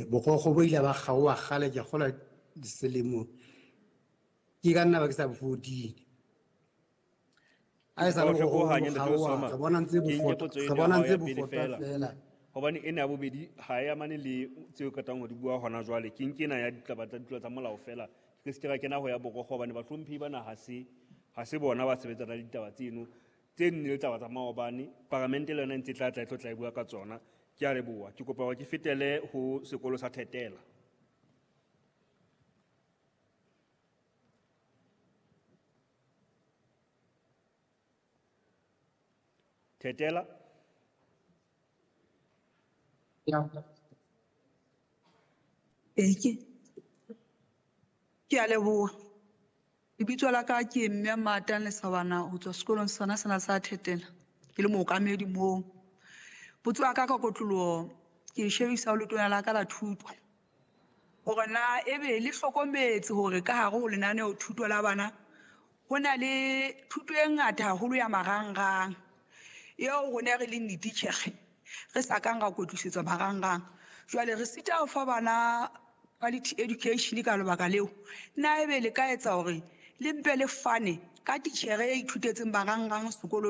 Bokgokgo bo ile ba kgaoha kgale, ke kgolwa selemo ke ka nna ba ke sa bo 14. A e sa le Bohle bokgokgo bo bo hanya, Ntate kgaoha, Osama. re bona ntse Ke nke bofota, potso re eno ya bona hao ntse ya pele bofota feela. feela. Hobane ena ya bobedi ha e amane le tseo qetang ho di bua hona jwale. Ke nke ena ya ditaba tsa ditulo tsa molao feela. Ke se ke ra kena ho ya borokgo hobane bahlomphehi bana ha se bona ba sebetsana le ditaba tseno. Tse nne le taba tsa maobane, paramente le yona e ntse e tla tla e tlo tla e bua ka tsona. Ke a leboha. Ke kopa hore ke fetele ho sekolo sa Thetela. Thetela. Ee, ke a leboha. Lebitso la ka ke Mme Matang Lesabana ho tswa sekolong sona sena sa Thetela. Ke le mookamedi moo. Potso ya ka ka kotloloho ke e shebisa ho letona la ka la thuto. Hore na ebe le hlokometse hore ka hare ho lenaneo thuto la bana ho na le thuto e ngata haholo ya marangrang eo rona re leng dititjhere re sa kang ra kwetlisetswa marangrang. Jwale re sita ho fa bana quality education ka lebaka leo. Na ebe le ka etsa hore le mpe le fane ka titjhere e ithutetseng marangrang sekolong?